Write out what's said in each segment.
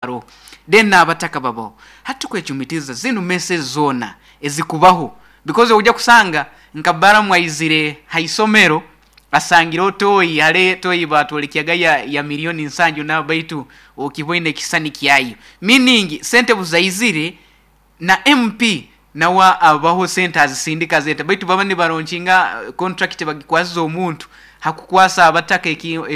Aroho then n'abataka babaho. Hati tukwecumitiriza zinu messes zoona ezikubaho because oija kusanga nka Balamu aizire ha isomero asangireho toyi, hare toyi batwolekyaga ya milioni nsanju na baitu okiboine ekisisani kyayo, meaning sente obuzaizire na MP nawe abaho sente azisindika azireta baitu baba nibaronkinga contract bagikwasize omuntu hakukwasa abataka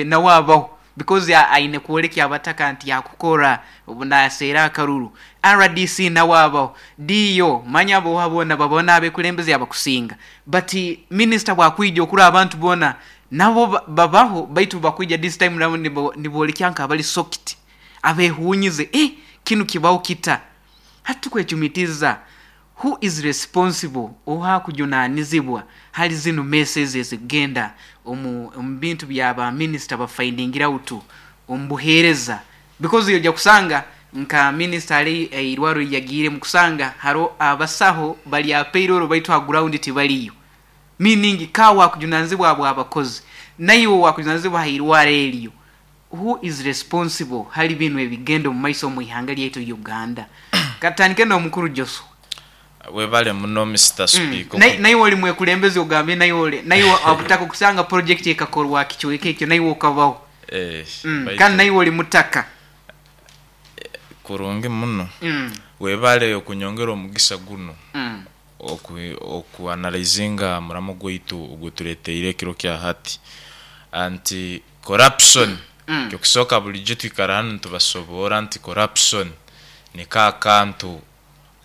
nawe abaho because aine kwolekya abataka nti yakukora obu naseera akaruru. Rdc nawe abaho, DO manya abo boona babaho n'abekulembeze abakusinga but minisita bwakwija okurora abantu boona nabo babaho baitu bakwija this time round nibolekya nk'abali shocked, abehunyize eh kinu kibaho kita? Hati tukwecumitiza who is responsible oha akujunanizibwa hali zinu messes ezikugenda omu bintu bya ba minister ba findingire out omu buhereza because oija kusanga nka minister hali eirwaro eriyagiiremu kusanga haroho abasaho bali aha payroll baitu ha ground tibaliyo meaning ka wakujunanizibwa habw'abakozi naiwe wakujunanizibwa ha irwaro eryo. Who is responsible hali binu ebigenda omu maiso omu ihanga lyaitu Uganda? Katutandike n'omukuru Joshua. Webale muno Mister Speaker. Naiwe oli mwekulembezi ogambye naiwe obutaka okusanga project ekakorwa ha kicweka ekyo naiwe okabaho. Kandi naiwe oli mutaka. Kurungi muno. Webale okunyongera omugisa gunu oku analyzinga omuramo gwaitu ogutureteire ekiro kya hati nti Corruption, Ekyokusooka bulijo twikara hanu nitubasoboora nti corruption niko akantu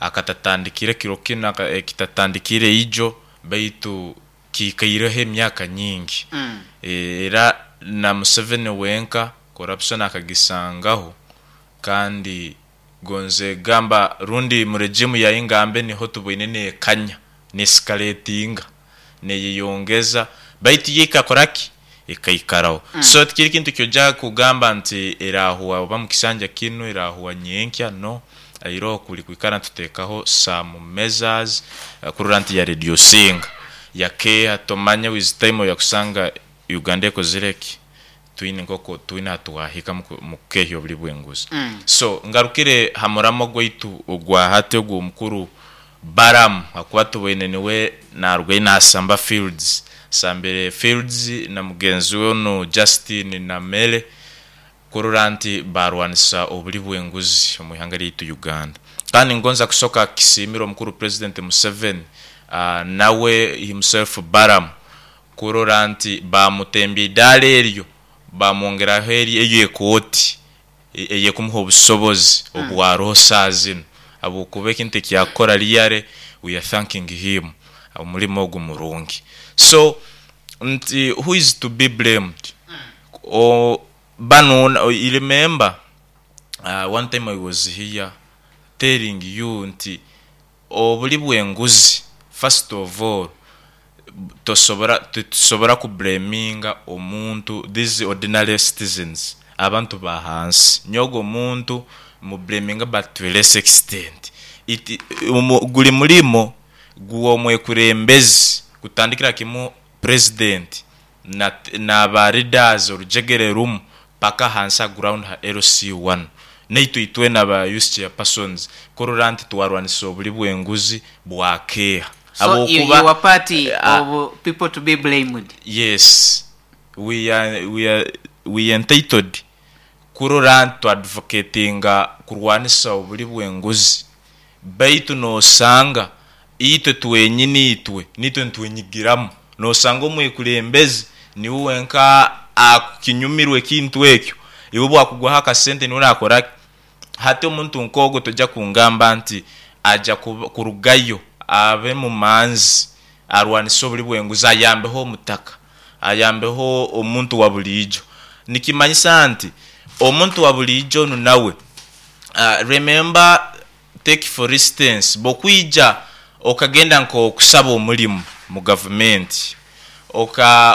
akatatandikire kiro kinu, ekitatandikiire ijo baitu kiikaireho emyaka nyingi. Era na Museveni wenka corruption akagisangaho kandi gonze gamba rundi mu regime ya Ingambe niho tuboine nekanya, ne-escalatinga. Neyeyongeza baitu yo ekakora ki? Ekaikaraho. So tikiri kintu kyoja kugamba nti erahwa oba mukisanja kinu, erahwa nyenkya, no. Iroho kuli kwikara nitutekaho some measures kurora nti ya reducinga, yakeha tomanya with time oya kusanga Uganda ekozire ki? Twine nkoku twine ahatwahika mukukehya obuli bwenguzi. So ngarukire ha muramo gwaitu ogwa hati ogwo omukuru Balaam ahakuba tuboine niwe narugayo nasamba fields, asambire fields na mugenzi we onu Justine Namere kurora nti barwanisa obuli bwenguzi omu ihanga ryaitu Uganda. Kandi ningonza kusoka kisiimira omukuru President Museveni nawe himself Balaam kurora nti bamutembya eidaara eryo bamwongeraho eyo ekooti eyekumuha obusobozi obwaroho saaha zinu habwokuba ekintu ekiyakukora really we are thanking him omurimo ogu murungi. So nti who is to be blamed? Banu remember one time I was here telling you nti obuli bwenguzi first of all tosobora titusobora ku blaminga omuntu these ordinary citizens abantu bahansi nyowe ogwo omuntu mu blaminga but to a less extent it guli mulimo gwomwekurembezi kutandikira kimu president na ba leaders orujegere rumu paka ahansi aha ground ha LC one. Naitwe itwena ba youth chairpersons kurora nti twarwanisa obuli bwenguzi bwakeeha. So you are part of people to be blamed? Yes, we are, we are, we are entitled kurora nti twa advocatinga kurwanisa obuli bwenguzi baitu nosanga itwe twenyini itwe nitwe nitwenyigiramu. Nosanga omwekulembezi niwe wenka akukinyumirwa ekintu ekyo, iwe obwakugwaho akasente niwe nakora ki? Hati omuntu nk'ogwo toja kungamba nti aja kurugayo abe mumanzi arwanise obuli bwenguzi ayambeho omutaka, ayambeho omuntu wabuliijo. Nikimanyisa nti omuntu wabuliijo onu nawe, remember Take for instance, bwokwija okagenda nk'okusaba omulimo mu gavumenti,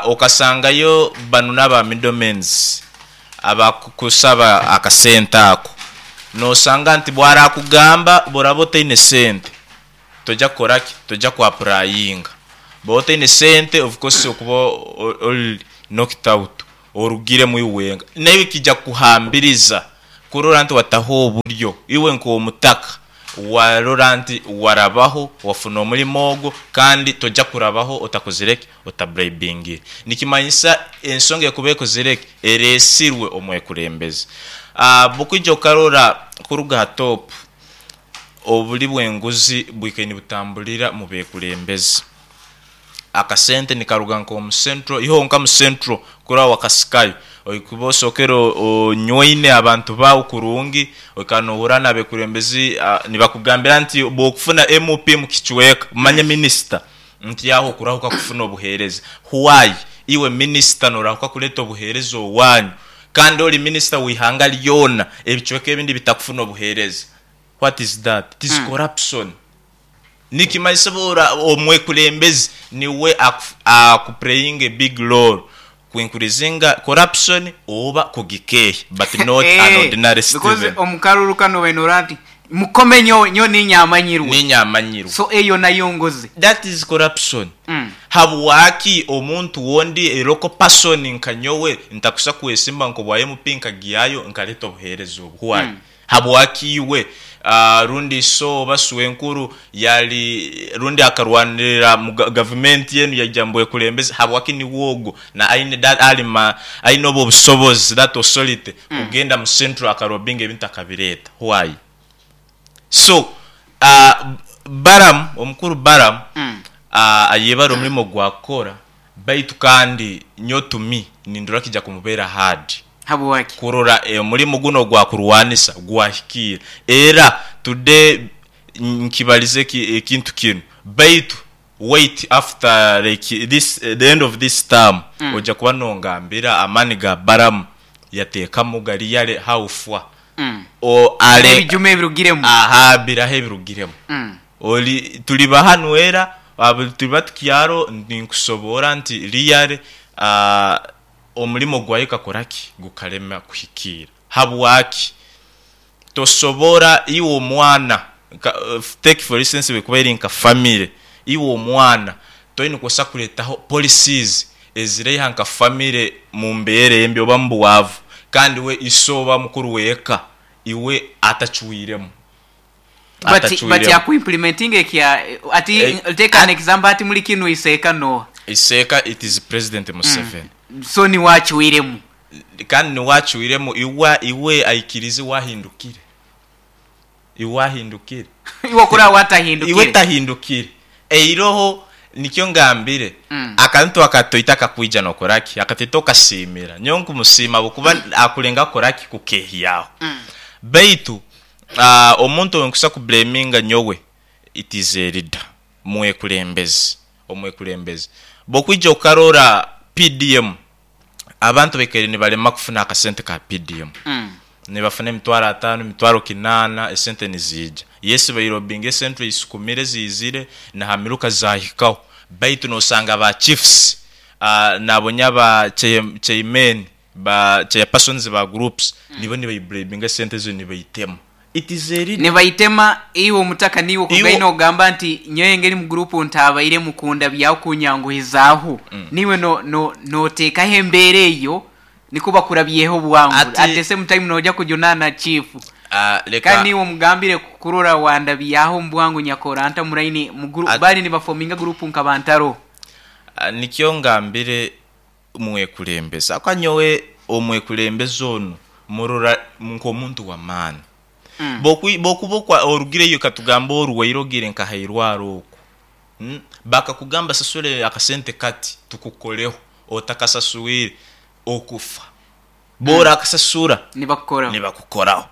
okasangayo banu n'aba middlemens abakukusaba akasente ako, nosanga nti bwarakugamba bworaba otaine sente toja kukora ki? Toja ku applyinga. Bwoba otaine sente of course okuba ori knocked out, orugiremu iwe wenka. Naiwe kija kukuhambiriza. Kurora nti wataho oburyo iwe nk'omutaka warora nti warabaho wafuna omulimo ogwo kandi tojja kurabaho otakozire ki otabribingire. Nikimanyisa ensonga ekuba ekozire ki eresirwe omwekulembezi. Bwokwija okarora kuruga ha top, obuli bwenguzi bwikaire nibutambulira mubekulembezi. Akasente nikaruga nka omu central, iwe honka mu central kurora wakasikayo, oikuba osokere onyweine abantu baawe kurungi, oikara nohura nabekulembezi nibakugambira nti bwokufuna MP mukicweka, manya minisita, nti aho okurahuka kufuna obuhereza. Why iwe minisita norahuka kuleta obuhereza owanyu kandi ori minisita wihanga lyona, ebicweka ebindi bitakufuna obuhereza? What is that? It is corruption. Nikimanyisa bwora omwekulembezi niwe aku playing a big role ku increasinga corruption oba kugikeeha but not an ordinary Because citizen. Omukaruru kanu obaire norora nti mukome nyowe, nyowe ninye amanyirwe. Ninye amanyirwe. So eyo nayo ngozi. That is corruption. Habwaki omuntu wondi a local person nka nyowe ntakusa kwesimba nk'obwa MP nkagyayo nkaleta obuhereza obu? Why? Habwaki iwe rundi iso oba swenkuru yali rundi akarwanirira mu gavumenti enu yaija mubwekulembeze, habwaki niwe ogu na aine that alima aine obu obusobozi, that authority, kugenda mu central akarobinga ebintu akabireta? Why? So Balaam, omukuru Balaam, ayebare omulimo gwakukora, baitu kandi nyowe to me nindora kija kumubera hard. Habwaki? Kurora omulimo gunu ogwakurwanisa gwahikirra. Era today nkibalize ekintu kinu, baitu wait after like this the end of this term oja kuba nongambira amani ga Balaam yatekamu gari yale how far o ale Ebijuma ebirugiremu. Aha biraha ebirugiremu. Ori turiba hanu era turiba tukyaro ninkusoboora nti really omulimo gwaye gukakora ki? Gukarema kuhikiira. Habwaki? Tosobora iwe omwana, take for instance bwekuba eri nka family, iwe omwana toine kubaasa kuretaho policies eziraiha nka family mumbeera embi oba mubwavu kandi we iso oba mukuru w'eka iwe atacwiremu. But but Atacwiremu. Aku implementinga ekya ati take an example ati muli kinu iseeka noha? Iseeka it is president Museveni. So niwe acwiremu. Kandi niwe acwiremu iwe iwe aikirize iwe ahindukire. Iwe ahindukire. Iwe okuri aho atahindukire. Iwe tahindukire. Eiroho nikyo ngambire akantu akatoito akakwija nokora ki? Akatoito okasiimira. Nyowe nkumusiima ahabw'okuba akulengaho kukora ki? Kukehyaho. Baitu omuntu ou nkusa ku blaminga nyowe it is a leader, mwekulembezi, omwekulembezi. Bwokwija okarora PDM, abantu baikaire nibarema kufuna akasente ka PDM. Nibafuna emitwaro ataano, emitwaro kinaana, esente niziija. Yes bairobinga esente eisukumire ziizire na ha miruka zaahikaho, baitu nosanga ba chiefs nabonya ba chairmen, ba chairpersons ba groups nibo nibaibribinga esente ezo nibaitema. It is a leader. Nibaitema iwe omutaka niiwe Iwe okugaine ogamba nti nyowe engeri mu group ntabairemu kundabyaho kunyanguhizaaho niiwe no no notekaho embeera eyo nikwo bakurabyeho bwangu Ati at the same time noja kujunana chief kandi leka niiwe omugambire kurora wandabyaho mubwangu nyakora nta muraini mu group at bali nibafominga group nka bantaro. Nikyo ngambire mwekulembeze ahabw'okuba nyowe omwekulembeze onu murora nk'omuntu w'amaani. Bw'okuba orugireyo katugambe orwaire ogiire nka ha irwaro oku, bakakugamba sasura akasente kati tukukoreho, otakasaswire okufa. Bw'orakasasura Nibakukoraho. Nibakukoraho.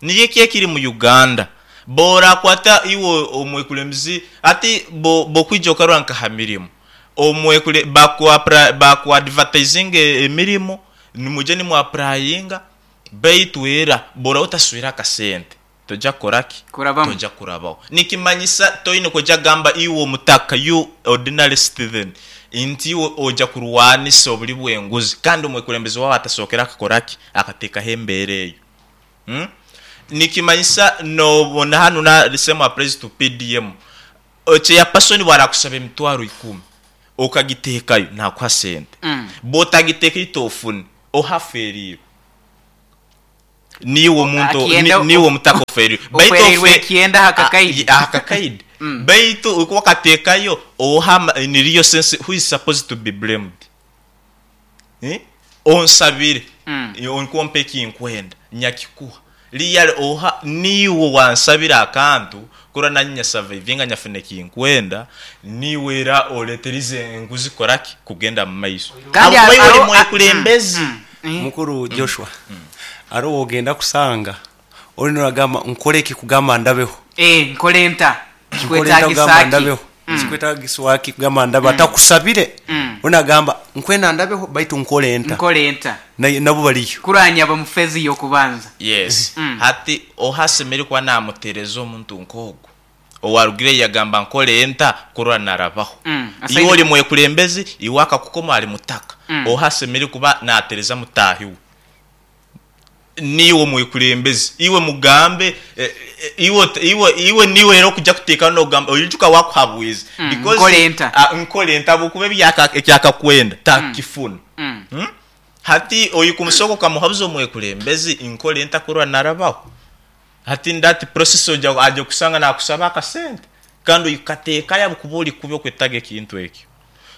Niyo eki ekiri mu Uganda. Bw'orakwata iwe omwekulembezi hati bw'okwija okarora nka ha mirimo, omwekule baku baku advertisinga emirimo, nimwija nimu applyinga baitu era bw'oraba otasaswire akasente toija kukora ki? Kurabamu. Toija kurabaho. Nikimanyisa toine kwija kugamba iwe omutaka, you ordinary citizen, nti iwe oija kurwanisa obuli bw'enguzi kandi omwekulembezi waawe atasookere akakora ki? Akateekaho embeera eyo. Nikimanyisa nobona hanu na the same applies to PDM. Chairperson bwarakusaba emitwaro ikumi okagiteekayo nakuha sente. Bwotagiteekayo tofune, ohaferiirwe. Niiwe omuntu Akienda niiwe omutaka oferiirwe. Baitu oferiirwe ofe ekyenda aha kakaidi. Aha kakaidi. Baitu okuba okateekayo oha in real sense who is supposed to be blamed? Onsabire nikwo ompe ekinkwenda nyakikuha. Really oha niiwe owansabire akantu kurora nanye nya survivinga nyafuna ekinkwenda, niiwe era oleterize enguzi kukora ki? Kugenda mu maiso. Kandi Habwokuba iwe ori haro mwekulembezi. Mukuru Joshua, haroho owogenda kusanga ori nagamba nkore ki kugamba ndabeho? Nkore nta? Nkore nta kugamba Kikwetagisa ki? ndabeho? Kikwetagiswa ki kugamba ndabeho? Atakusabire, ori nagamba nkwenda ndabeho baitu nkore nta? Nkore nta? Nabo bariyo. Kuranya aba mu phase y'okubanza. Yes. Hati oha asemeriire kuba namutereza omuntu nk'ogu owarugire yagamba nkore nta kurora narabaho? Iwe ori mwekulembezi, iwe akakukoma ari mutaka. Oha asemeriire kuba natereza mutaahi we? Niiwe omwekulembezi, iwe mugambe, iwe iwe iwe niiwe era okuja kuteekaho nogamba oijuka wakuhabwize because Nkore nta? Nkore nta habwokuba ekyakakwenda takukifuna. Hati oikumusooka okamuhabuza omwekulembezi nkore nta kurora narabaho? Hati in that process oja aja kusanga nakusaba akasente kandi oikateekayo habwokuba ori kubi okwetaga ekintu ekyo.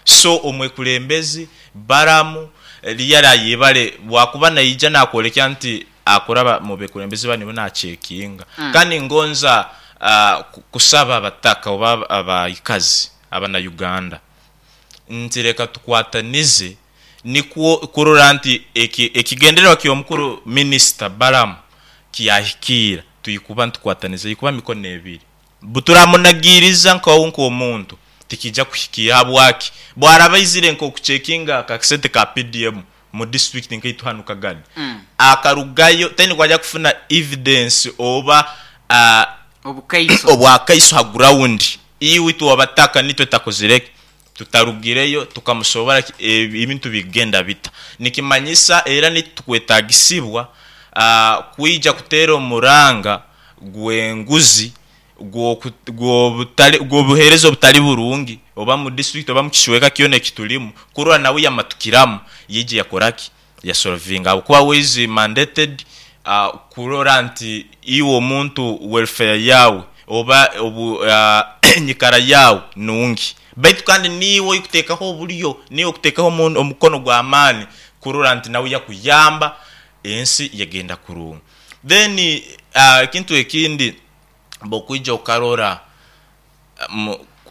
So omwekulembezi Balamu really ayebare bwakuba naija nakwolekya nti akuraba mubekulembezi banu nibo nacekinga. Kandi ngonza kusaba abataka oba abaikazi abana Uganda nti leka tukwatanize nikwo kurora nti ekigendererwa ky'omukuru minisita Balamu kyahikiira twikuba nitukwataniza ikuba mikono ebiri. Buturamunagiiriza nkawe nk'omuntu tikija kuhikiira. Habwaki? Bwaraba aizire nk'okucekinga akasente ka PDM mu disiturikiti nkaitu hanu Kagadi, akarugayo taine kwaija kufuna evidence oba Obukaiso. obwakaiso ha gurawundi. Iwe itwe abataka nitwe tutakozire ki? Tutarugireyo tukamusoborra ki ebintu bikugenda bita. Nikimanyisa era nitukwetagisibwa kwija kuteera omuranga gw'enguzi, gw'obuheereza obutali burungi oba mu disiturikiti oba mu kicweka kyona eki turimu kurora nawe yamatukiramu yaija yakora ki? Yasolovinga ahabw'okuba we is mandated kurora nti iwe omuntu welfare yaawe oba enyikara yaawe nungi. Baitu kandi niiwe orikuteekaho oburyo, niiwe orikuteekaho omukono gw'amaani kurora nti nawe yakuyamba ensi yagenda kurungi. Then ekintu ekindi bwokwija okarora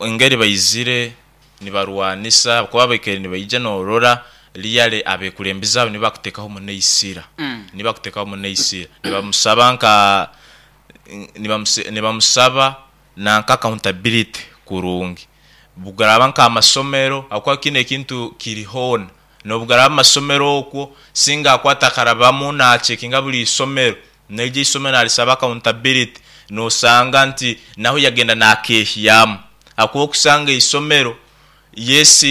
engeri baizire nibarwanisa ahabw'okuba baikaire nibaija norora really abekulembeze abo nibo bakutekaho muno eisira, nibo bakutekaho muno eisira. Nibamusaba nka nibamusaba nanka accountability kurungi. Bugaraaba nk'amasomero ahabw'okuba kinu ekintu kiri hoona. N'obugaraaba mu masomero okwo, singa akwata akarabamu nacekinga buri isomero, n'eryo eisomero narisaba accountability, nosanga nti naho yagenda nakeehyamu. Ahabw'okuba okusanga eisomero, yes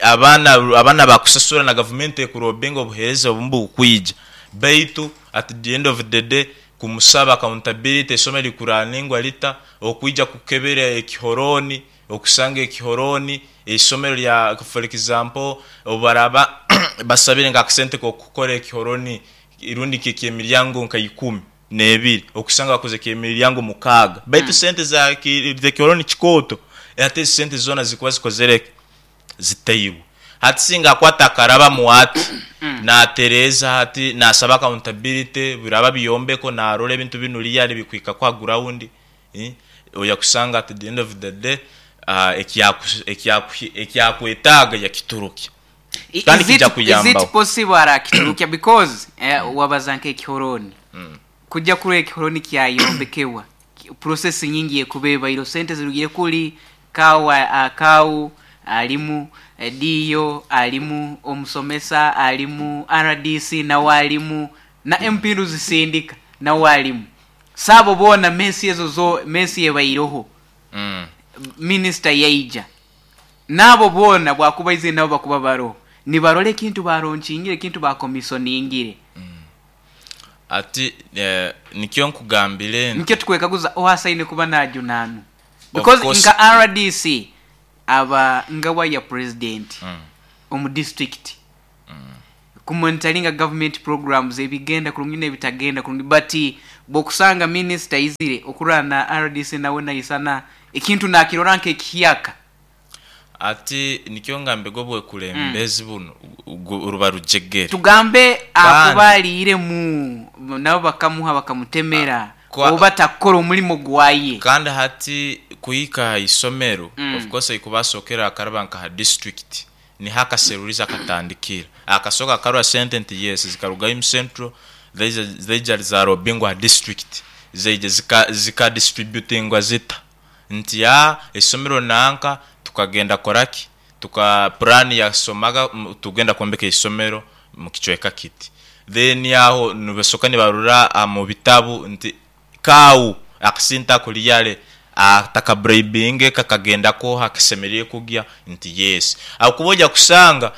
abaana abaana bakusasura na gavumenti ekurobinga obuheereza obumu bukwija, baitu at the end of the day kumusaba accountability eisomero rikuraningwa rita, okwija kukebera ekihorooni, Okusanga ekihorooni, eisomero rya for example obu baraaba basabire nk'akasente k'okukora ekihorooni rundi nk'ekyemiryango nka ikumi n'ebiri, okusanga bakoze eky'emiryango mukaaga baitu sente za z'ekihorooni kikooto hati ezo sente zoona zikuba zikozire ki? Zitairwe. Hati singa akwata akarabamu ati naatereeza hati naasaba accountability biraba byombeko naarora ebintu binu really bikuhika ku ha ground. Oya kusanga at the end of the day ekyakwetaaga yakiturukya kandi Is it, kija is it kuyambaho. possible arakiturukya because wabaza nk'ekihorooni kujya kurora ekihorooni kyayombekebwa process nyingi ekuba ebaireho sente zirugire kuri kau kau alimu DO alimu omusomesa alimu RDC nawe alimu na MP Ruzisindika nawe alimu. So abo boona mess ezo zo mess ebaireho minisita yaija naabo boona bwakuba aizire nabo bakuba baroho nibarora ekintu baronkingire ekintu bakomisoningire. Ati nikyo nkugambire nti. Nikyo tukwekaguza oha asaine kuba najunanwa Of because course. nka rdc aba ngawa ya president omu district. Kumonitoringa government programs ebigenda kurungi n'ebitagenda kurungi, but bw'okusanga minisita aizire okurora na RDC nawe naisana ekintu nakirora nk'ekihyaka. Ati nikyo ngambege obwekulembezi bunu ruba rujegere. Tugambe Kandi akuba aliiremu nabo bakamuha bakamutemera oba takukora omulimo gwaye. Kandi hati kuhika ha isomero, of course aikuba asookere akaraba nka ha district, niho akaserulizi akatandikira. Akasooka akarora sente nti yes zikaruga Imu Central zaija zaija zarobingwa ha district, zaija zika distributingwa zita? Nti aa isomero nanka tukagenda kukoraki? Tuka puraani yasomaga tugenda kwombeka isomero mukicweka kiti. Then aho nibasoka nibarora omu bitabu nti kaawu akasente ako really atakaburayibinge kakagenda kooha akasemeriire kugya nti yes. Habwokuba oija kusanga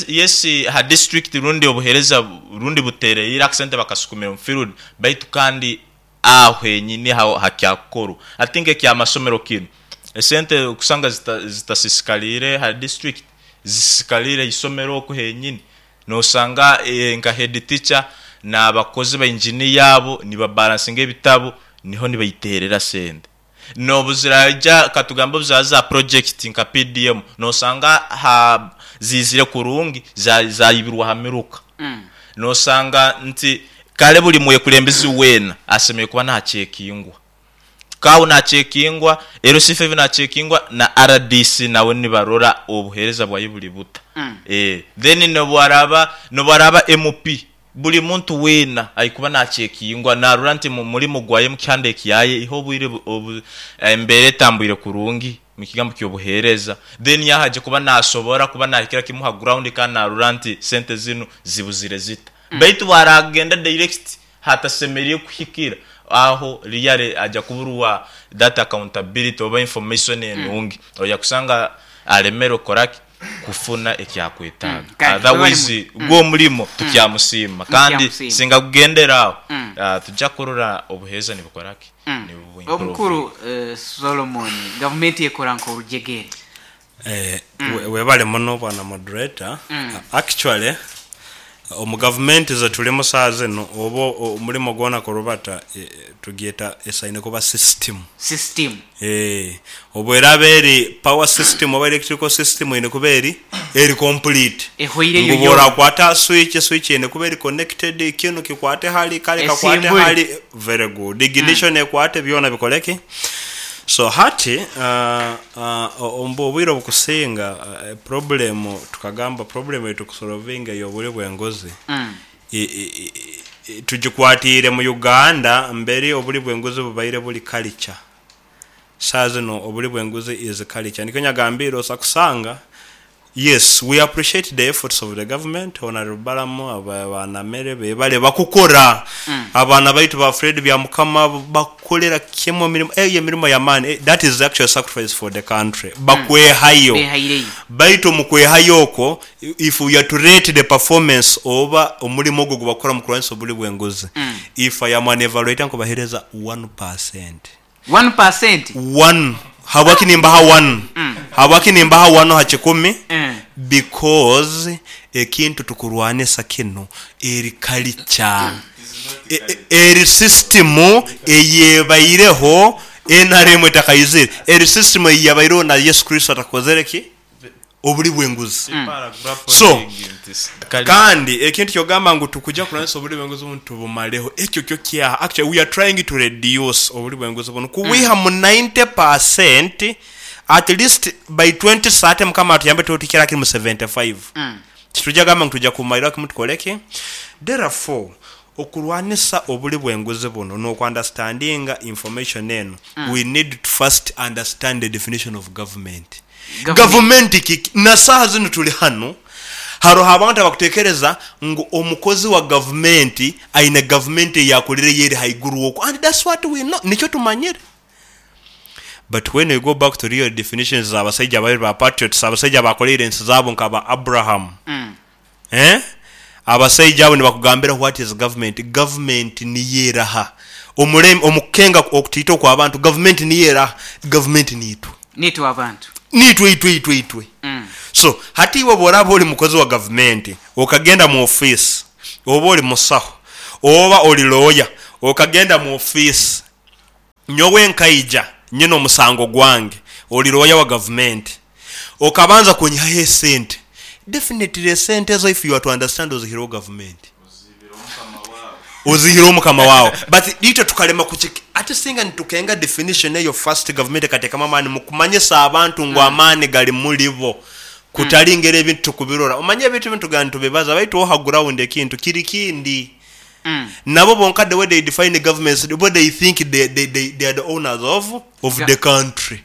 yes ha district rundi obuheereza rundi butereire akasente bakasukumire omu field baitu kandi aho henyini aho hakyakukorwa. Hati nk'ekyamasomero kinu, esente okusanga zitasiisikaliire ha district, zisiisikaliire haisomero oku henyini. Noosanga nka head teacher n'abakozi ba engineer abo nibabalansinga ebitabu niho nibaiterera sente. N'obu ziraija katugambe obu ziraba za project nka PDM, noosanga ha ziizire kurungi zaibirwa ha miruka. Noosanga nti kare buri mwekulembezi weena asemeriire kuba naacekingwa. Kaawo naacekingwa, LC5 naacekingwa na RDC nawe nibarora obuheereza bwaye buri buta. Then n'obu araaba MP, buri muntu weena aikuba naacekingwa naarora nti omu murimo gwaye omu kihanda ekyaye iho obwire embeera etambwire kurungi omu kigambo ky'obuheereza, then aho aije kuba naasobora kuba naahikira kimu ha ground kandi naarora nti sente zinu zibuzire zita. Baitu obu araagenda direct hatasemeriire kuhikira, aho really aija kuburwa that accountability oba information enungi, oija kusanga aremerwe kukoraki? Kufuna eki akwetaaga. Kale webale Otherwise gwo omurimo tukyamusiima kandi Mukyamusiima. singa gugendera aho, tujja kurora obuheereza nibukoraki? Nibu Omukuru improvinga. Solomon, gavumenti ekora nk'orujegere. Webale muno bwana moderator. Actually omu gavumenti zetulimu saaha zinu oba omulimo gwona kurubata tugyeta esaine kuba system. System. Obweraba eri power system oba electrical system eine kuba eri eri complete. Ehweireyo Ngu yoona. bworakwata aha switch, switch eine kuba eri connected, kinu kikwate hali, kare kakwate Esimbule. hali, very good. Ignition ekwate byona bikore ki? So hati omu obwire obukusinga problem tukagamba problem eitukusolovinga ey'obuli bw'enguzi tugikwatiire mu Uganda mberi obuli bw'enguzi bubaire buri culture. Saaha zinu obuli bw'enguzi is culture. Nikyo nyagambiire osa kusanga yes we appreciate the efforts of the government, Honourable Balamu, ba Namere bebale bakukora. Abaana baitu ba Fred Byamukama bakukolera kimwe emirimo, eyo emirimo y'amaani, that is actually sacrifice for the country. Bakwehayo. Behaireyo. Baitu omu kwehayo okwo, if we are to rate the performance oba omurimo ogwo ogu bakukora omu kurwanisa obuli bw'enguzi, if I am an evaluator nkubahereza one percent. 1%? One. Habwaki nimbaha one? Habwaki nimbaha one ha kikumi? Because ekintu tukurwanisa kinu eri culture. Eri system eyebaireho nrm etakaizire. Eri system eyabaireho na Yesu Kristo atakozere ki? Obuli bw'enguzi. So, kandi ekintu kyogamba ngu tukuja kulwanisa obuli bw'enguzi bunu tubumaleho, ekyo kyo kyaha. Actually we are trying to reduce obuli bw'enguzi bunu kubwiha mu 90% at least by 2030 Mukama atuyambe tube tuhikire hakiri mu 75. Tituja gamba ngu tuja kumaliraho kimu tukole ki? Therefore, okulwanisa obuli bw'enguzi bunu n'oku understandinga information enu, we need to first understand the definition of government. Gavumenti kiki? Na saaha zinu tuli hanu, haroho abantu abakutekereza ngu omukozi wa gavumenti aine gavumenti ei akolire yo eri haiguru oku and that's what we know, nikyo tumanyire. But when we go back to real definitions z'abasaija ababiri ba patriots, abasaija abakoleire ensi zaabo nka ba Abraham, eh, abasaija abo nibakugambira what is government. Gavumenti niyo eraha? Omurembe, omu kukenga okutiita okw'abantu, gavumenti niyo eraha? Gavumenti niitwe. Niitwe abantu. Niitwe itwe itwe itwe. So hati iwe bworaba oli mukozi wa gavumenti okagenda mu ofiisi, oba oli musaho, oba oli looya okagenda mu ofiisi, nyowe nkaija nyine omusango gwange, oli looya wa gavumenti, okabanza kunyihaho esente, definitely esente ezo if you are to understand ozihireho gavumenti. Ozihireho mukama waawe. But itwe tukarema kukik ati singa nitukenga definition eyo first gavumenti ekateekamu amaani mukumanyisa abantu ngu amaani gari muribo kutari ngeri ebintu tukubirora. Omanye ebintu binu tugamba nitubibaza baitu oha ground ekintu kiri kindi. Nabo bonka the way they define governments bo they think they, they, they, they are the owners of the country.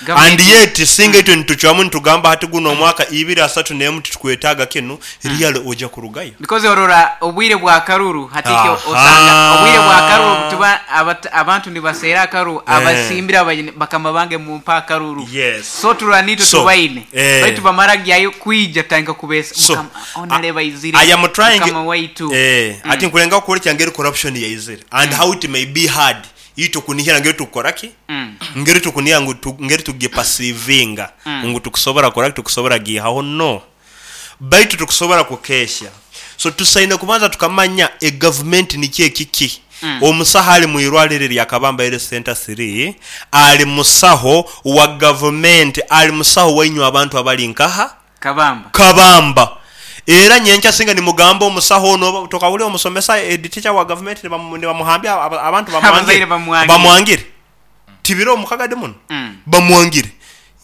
And yet singa itwe nitucwamu nitugamba hati guno omwaka ibiri asatu nemu titukwetaaga kinu, really oja kurugayo. Because orora obwire bwa karuru hati ekyo osanga obwire bwa karuru obutuba abantu nibaseera akaruru abasimbire abaine bakama bange mumpe akaruru. Yes. So turora nitwe So, tubaine baitu bamara gyayo kwija tutandika kubesa So, mukama onareba aizire I am trying mukama waitu. Ati nkulengaho kwolekya ngeri corruption yaizire and how it may be hard itwe kunihira ngeri tukukora ki? Ngeri tukunihira ngu ngeri tugipasivinga ngu tukusobora kukora ki? Tukusobora giihaho? No. Baitu tukusobora kukehya. So tusaine kubanza tukamanya egavumenti nikyo ekiki. Omusaho ali mu irwariro erya Kabamba Health Center 3 ali musaho wa gavumenti, ali musaho wainywe abantu abali nkaha? Kabamba. Kabamba. Era nyenkya singa nimugamba omusaho ono, tokahurira omusomesa, head teacher wa gavumenti nibamuhambya abantu bamwangire. Abazaire bamwangire. Bamwangire. Tibiro omu kagadi muno. Bamwangire.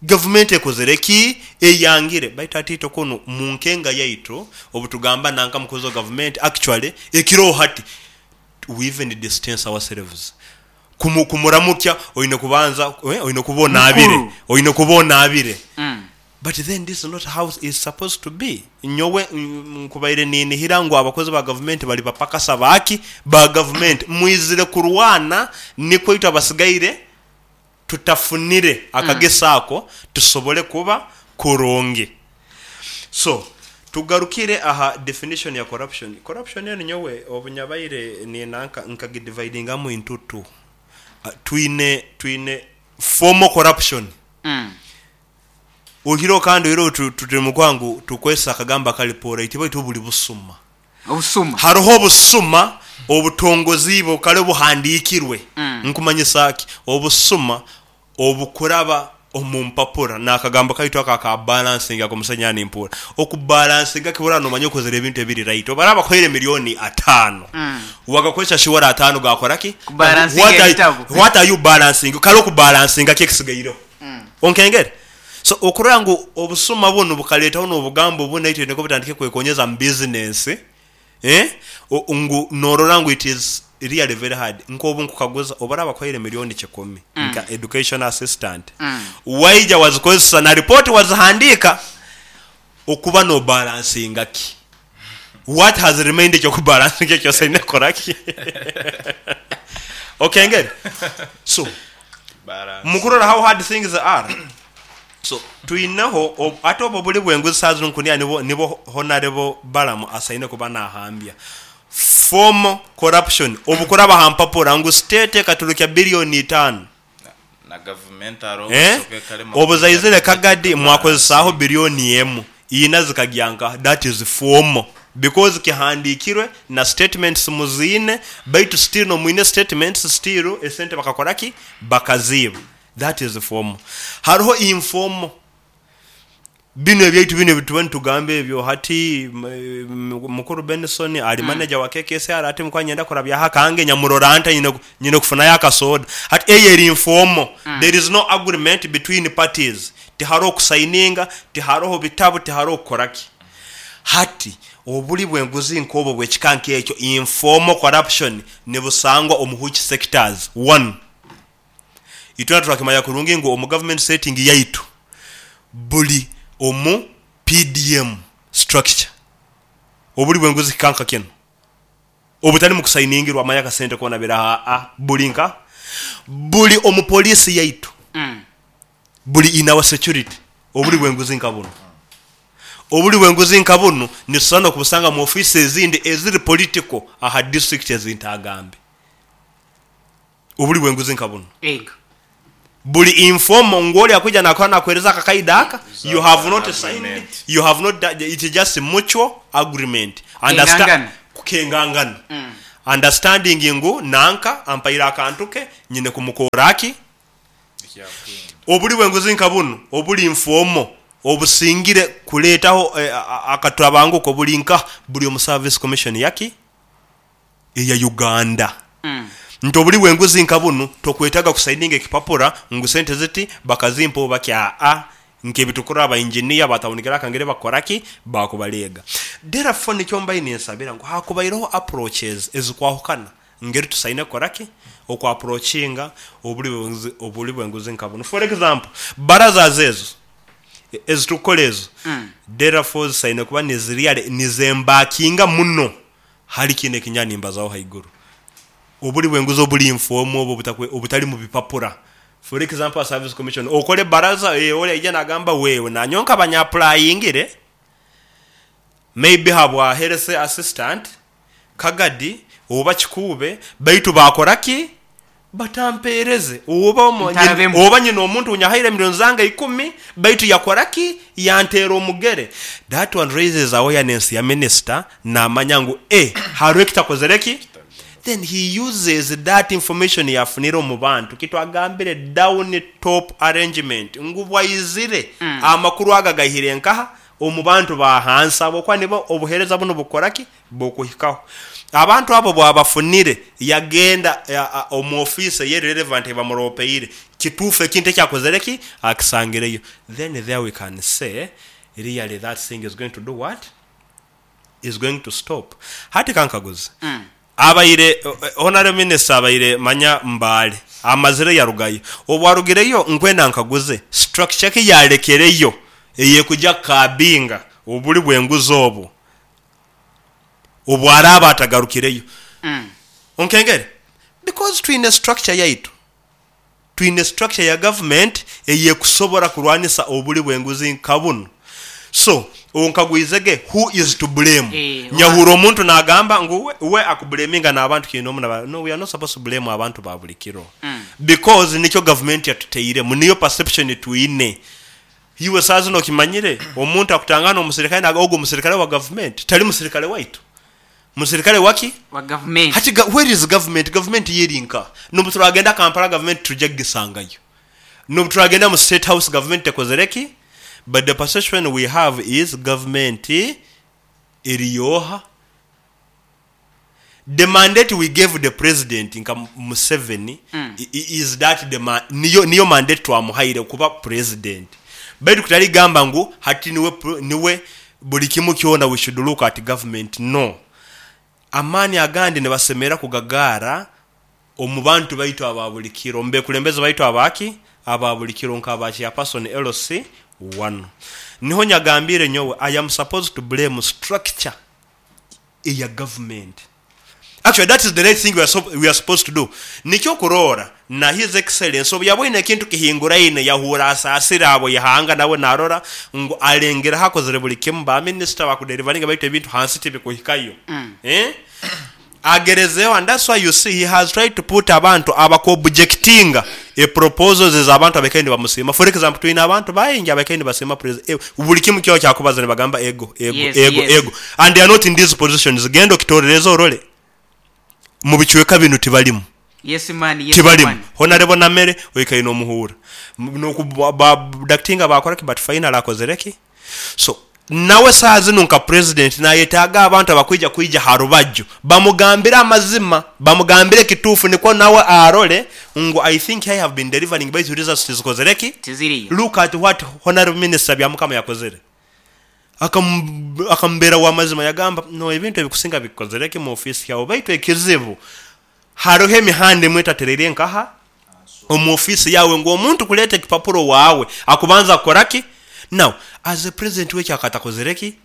Gavumenti ekozere ki? Eyangire. Baitu hati itwe kunu mu nkenga yaitu obutugamba nanka mukozi wa gavumenti, actually ekiroho hati we even distance ourselves. Kumuramukya oine kubanza, oine kuba onaabire. Mukuru. Oine kuba onaabire. But then this is not how it's supposed to be. Nyowe nkubaire ninihira ngu abakozi ba gavumenti bari bapakasa baaki? Ba gavumenti. Mwizire kurwana nikwo itwe abasigaire tutafunire akagisa ako tusobole kuba kurungi. So, tugarukire aha definition ya corruption. Corruption enu nyowe obunyabaire ninanka nkagidividingamu into two. Twine, twine formal corruption. Oihireho kandi oihireho turi omu kuha ngu tukozese akagambo akari polite baitu buri busuma. Obusuma. Hariho obusuma obutongoziibwe kare obuhandiikirwe. Nkumanyisa ki? Obusuma obukuraba omu mpapura n'akagambo kaitu ako aka balancing ak'omusenya nimpuura. Okubalansinga kibura nomanya okozire ebintu ebiri right. Obu baraaba bakuhaire milioni ataano, wagakozesa shuwara ataano gaakora ki? Kubalansinga What ebitabu. are you balancing? Kare okubalansinga ki ekisigaireho? Onkengere? So okurora ngu obusuma bunu bukareetaho n'obugambo bunu naitwe nukwo butandike kwekonyeza mu bizinensi, ngu norora ngu it is really very hard. Nk'obu nkukaguza obu baraaba bakuhaire milioni kikumi nka education assistant, waija wazikozesa na ripooti wazihandiika, okuba nobalansinga ki? What has remained eky'okubalansinga eki osaine kukora ki? Okengere? So, mukurora how hard things are, so twineho ate obu obuli bw'enguzi saaha zinu nkunira nibo nibo Honarebo Balaam asaine kuba nahambya. Formal corruption obukuraba ha mpapura ngu state ekaturukya billion itaano. Na gavumenti hariho obusoka ekarema Obu kuturukya zaizire budget kagadi mwakozesaaho ekabalansinga. billion emu, ina zikagya nkaha? That is formal because kihandikirwe na statements muziine baitu still nomwine statements still esente bakakora ki? Bakaziiba. That is formal. Hariho informal. Binu ebyaitu binu ebituba nitugamba ebyo hati mukuru Benson ali manager wa KKSR hati nkuba niinyenda kurabyaho akange nyamurora nta nyine kufunayo akasoda. Hati eyo eri informal. There is no agreement between parties. Tiharoho kusayininga, tiharoho bitabu, tiharoho kukora ki. Hati obuli bw'enguzi nk'obwo obw'ekika nk'ekyo, informal corruption, nibusangwa omu which sectors? One, itwena twakimanya kurungi ngu omu government setting yaitu buli omu PDM structure obuli bw'enguzi kika nka kinu obutali mu kusainingirwa manya akasente koona biraha aa buli nka buli omu police yaitu buli in our security obuli bw'enguzi nka bunu. Obuli bw'enguzi nka bunu nitusobora n'okubusanga mu ofiisi ezindi eziri political aha district ezintagambe. Obuli bw'enguzi nka bunu. Ego. Buli informal ngu oli akwija nakora nakuhereza akakaida aka, you have not signed, Agreement. you have not it just mutual agreement. Kukengangana. Kukengangana. Understanding ngu nanka ampaire akantu ke nyine kumukora ki? Obuli bw'enguzi nka bunu obuli informal obusingire kuleetaho akatabanguko buli nka buli omu service commission yaki eya Uganda. Nti obuli bw'enguzi nka bunu tokwetaga kusaininga ekipapura ngu sente ziti bakazimpa oba ki, aa, nk'ebitukura aba engineer batawunikira akangere bakora ki bakubaleega. Therefore nikyo mbaire ninsabira ngu hakubaireho approaches ezikwahukana ngeri tusaine kukora ki oku approachinga obuli bw'enguzi nka bunu. For example, barazas ezo ezitukukora ezo, therefore zisaine kuba niziriale nizembakinga muno hali kinu ekinya nimbazaho haiguru. Obuli bw'enguzi obuli informal obu obutali mu bipapura. For example, service commission okole baraza, oli aija nagamba wewe nanyonka banya-applyingire maybe habwa health assistant Kagadi oba Kikuube, baitu bakora ki batampereze oba Ntarabemu. Oba nyina omuntu nyahaire milioni zange 10 baitu yakora ki yantera omugere. That one raises awareness ya minister, namanya ngu hariho ekitakozere ki, then he uses that information yafunire omu bantu. Kitwagambire down top arrangement ngu bwaizire amakuru aga gahire nkaha omu bantu ba hansi, abo kuba nibo obuhereza buno bukora ki bukuhikaho. Abantu abo bwabafunire yagenda omu office ye relevant bamuropeire kituufu ekintu ekyakozere ki akisangireyo, then there we can say really that thing is going to do what is going to stop. Hati kankaguze, abaire honorable minister abaire manya Mbale amazire yarugayo, obwarugireyo nkwenda nkaguze structure ki yalekereyo eyekuja kabinga obuli bw'enguzi obu obwaraba atagarukireyo? Onkengere, because twine structure yaitu, twine structure ya government eyekusobora kurwanisa obuli bw'enguzi nka buno. So onkagwizege, who is to blame? Nyahura omuntu nagamba ngu we akublaminga n'abantu kinomu na no, we are not supposed to blame abantu ba buli kiro, because nikyo government yatuteiremu, niyo perception twine. Iwe saa zino okimanyire omuntu akutangana omusirikale naga ogwo musirikale wa government, tali musirikale waitu, musirikale waki? Wa government. Hati where is government? Government yeri nka nobu turagenda Kampala government tujja kugisangayo, nobu turagenda mu State House government tekozere ki, but the perception we have is government eriyoha. The mandate we gave the president nka Museveni is that the niyo mandate twamuhaire kuba president, baitu kutali gamba ngu hati niwe buli kimu kyona we should look at government. No, amaani agandi nibasemera kugagara omu bantu baitu aba buli kiro, mbekulembeze baitu abaki aba buli kiro nka aba chairperson LC 1. Niho nyagambire nyowe I am supposed to blame structure eya government. Actually that is the right thing we are supposed to do. Nikyo kurora na His Excellency obu yabwine ekintu kihinguraine yahura asasira abo yahanga nawe narora ngu alengera hakozere buli kimu ba minister bakudelivaringa baitu ebintu hansi tibikuhikayo. Agerezeho, and that's why you see he has tried to put abantu abakobjectinga e proposals ez'abantu abakaine bamusima. For example, twine abantu baingi abakaine basima president, buli kimu kyo kyakubaza nibagamba ego ego, ego, ego, and they are not in these positions. Genda okitorereza orole mu bicweka binu tibalimu. Yes man, yes. Tibalimu. Man. Honorable Namere oikaine omuhura nokubadactinga bakora ki, but final akozere ki. So nawe saa zino nka president nayetaaga abantu abakwija kwija harubaju bamugambire amazima, bamugambire kituufu, nikwo nawe arole ngu I think I have been delivering baitu results tizikozere ki, tiziriyo. Look at what honorable minister Byamukama yakozere. Akambeera wa mazima, yagamba no ebintu ebikusinga bikozere ki mu office yawe, baitu ekizibu hariho emihanda emwe etaterere nkaha omu office yawe ngu omuntu kuleta ekipapuro wawe akubanza kukora ki. Now as a president wekyo akatakozere ki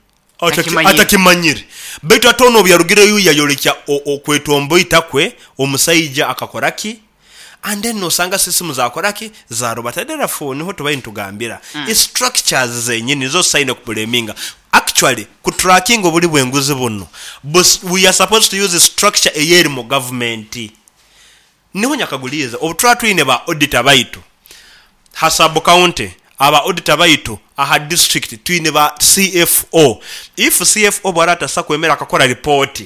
Atakimanyire. Atakimanyire, baitu ate ono obu yarugireyo yayolekya okwetomboita kwe, omusaija akakora ki, and then nosanga sisimu zakora ki zarubata. Therefore niho tubaire nitugambira structures zenyini nizo tusaine kublaminga. Actually kutracking obuli bw'enguzi buno, we are supposed to use structure eyeri mu government. Niho nyakaguliza obu tuba twine ba auditor baitu. Ha sub county aba auditor baitu, aha district twine ba CFO. If CFO bwara atasa kwemera akakora report,